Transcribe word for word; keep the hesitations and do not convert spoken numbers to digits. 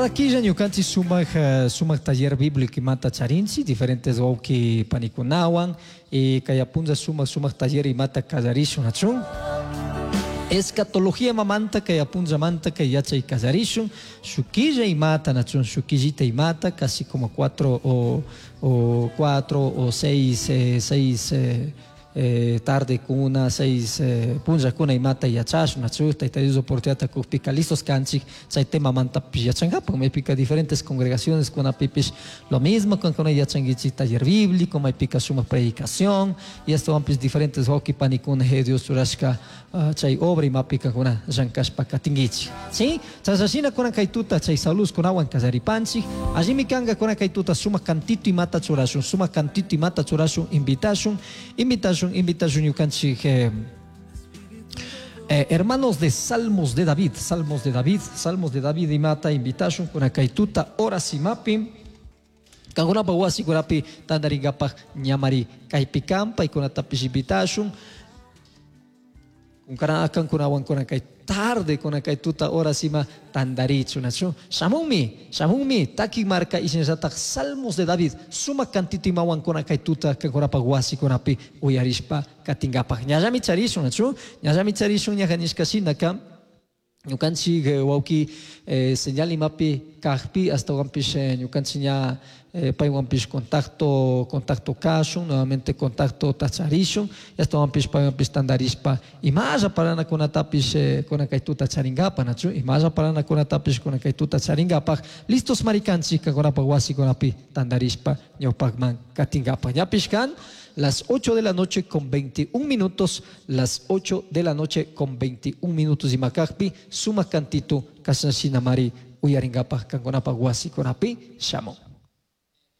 Cada quilla ñukanchik sumak uh, sumak taller bíblico imata charinchik diferentes wawqi panikunawan y kay punlla sumak sumak taller imata kallarishun achun. Escatología mamanta kay apunllamanta kay yachay kallarishun shukilla imata nachun shukillita imata casi como cuatro o, o cuatro o seis eh, seis eh, eh, tarde kuna seis eh, punllakuna imata yachashun nachu tayta Dios oportunidad kukpika listos kanchik chay tema mantapish yachankapak maypika diferentes congregaciones kunapipish lo mismo kankuna yachankichik taller bíblico maypika sumak predicación y ashtawanpish diferentes wawqi panikuna Dios churashka uh, chay obra imapi kankuna llankashpa katinkichik ¿sí? Chashashina kunan kay tuta chay salus kunawan kallaripanchik allimi kanka kunan kay tuta sumak cantito imata churashun sumak cantito imata churashun invitashun invitashun invitashun ñukanchik eh, eh, hermanos de Salmos de David, Salmos de David, Salmos de David imata invitashun kunan kay tuta horas imapi kankunapa wasikunapi tantarinkapak ñamari kaypi kan paykunatapish invitashun kankunawan kunan kay tarde kunan kay tuta horas ima tantarichu nachu shamunmi shamunmi taki marka ishinallatak Salmos de David sumak cantito imawan kunan kay tuta kankunapak wasikunapi uyarishpa katinkapak ñallami charishun nachu ñallami charishun ñaja nishka shinaka ñukanchik eh, wawki eh, señal imapi kakpi ashtawanpish eh, ñukanchik ña eh, paywanpish contacto contacto kashun nuevamente contacto tacharishun ashtawanpish paywanpish tantarishpa imalla paranakunatapish eh, kunan kay tuta charinkapak nachu imalla paranakunatapish kunan kay tuta charinkapak listos marikanchik kankunapak wasikunapi tantarishpa ñawpakman katinkapak ñapish kan las ocho de la noche con veintiún minutos, las ocho de la noche con veintiún minutos imakakpi, sumak cantito kashanshina mari uyarinkapak kankunapak wasikunapi shamun.